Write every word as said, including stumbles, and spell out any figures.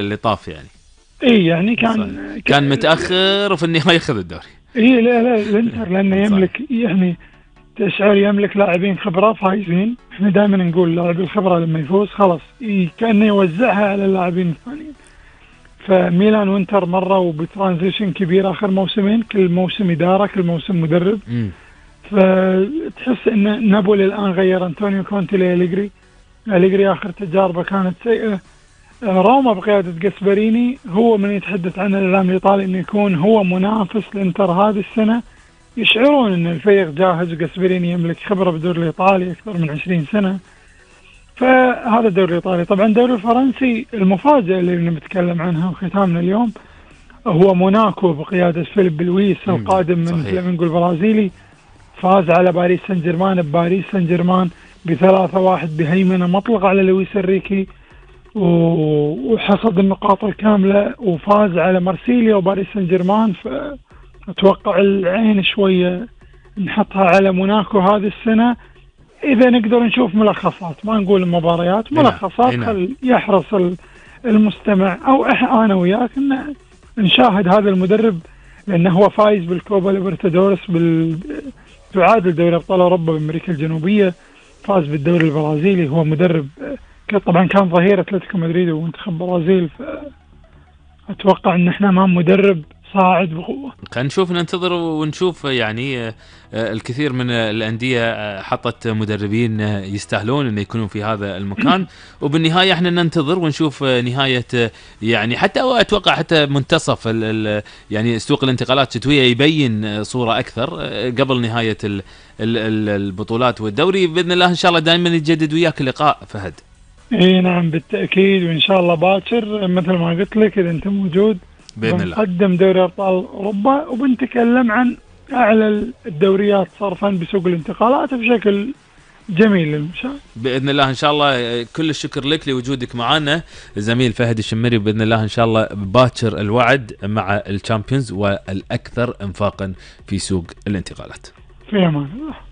اللي طاف يعني. اي يعني كان صحيح. كان متاخر وفي النهايه ياخذ الدوري. اي لا لا الانتر لانه يملك يعني تشعر يملك لاعبين خبره فايزين. احنا دائما نقول لاعب الخبره لما يفوز خلاص كانه يوزعها على اللاعبين الثانيين. فميلان وانتر مروا بترانزيشن كبير اخر موسمين، كل موسم اداره كل موسم مدرب. م. فتحس ان نابولي الان غير انطونيو كونتي لأليجري. أليجري اخر تجاربه كانت سيئه. روما بقياده جاسبريني هو من يتحدث عن الاعلام الايطالي انه يكون هو منافس لانتر هذه السنه. يشعرون ان الفريق جاهز وجاسبريني يملك خبره بالدوري الايطالي اكثر من عشرين سنه. فهذا الدوري الايطالي. طبعا الدوري الفرنسي المفاجاه اللي بنتكلم عنها وختامنا اليوم هو موناكو بقياده فيليب لويس القادم من فلامينغو البرازيلي. فاز على باريس سان جيرمان بباريس سان جيرمان بثلاثة واحد بهيمنه مطلقه على لويس انريكي، وحصد النقاط الكامله وفاز على مارسيليا وباريس سان جيرمان. فأتوقع العين شويه نحطها على موناكو هذه السنه. إذا نقدر نشوف ملخصات ما نقول المباريات ملخصات خل يحرص المستمع أو أنا وياك إن نشاهد هذا المدرب لأنه هو فايز بالكوبا ليبرتادورس بال تعادل دوري أبطال أوروبا بأمريكا الجنوبية، فاز بالدوري البرازيلي. هو مدرب طبعا كان ظهير أتلتيكو مدريد ومنتخب برازيل. فأتوقع إن إحنا أمام مدرب صاعد بقوة. خلينا نشوف ننتظر ونشوف يعني الكثير من الأندية حطت مدربين يستاهلون أن يكونوا في هذا المكان وبالنهاية احنا ننتظر ونشوف نهاية يعني حتى أتوقع حتى منتصف يعني سوق الانتقالات الشتوية يبين صورة أكثر قبل نهاية البطولات والدوري. بإذن الله إن شاء الله دائما يتجدد وياك اللقاء فهد. اي نعم بالتأكيد وإن شاء الله باكر مثل ما قلت لك إذا أنت موجود بإذن الله بنقدم دوري أبطال أوروبا وبنتكلم عن أعلى الدوريات صرفا بسوق الانتقالات بشكل جميل للمشاهد بإذن الله. إن شاء الله كل الشكر لك لوجودك معنا زميل فهد الشمري. بإذن الله إن شاء الله باكر الوعد مع الشامبيونز والأكثر انفاقا في سوق الانتقالات. في أمان الله.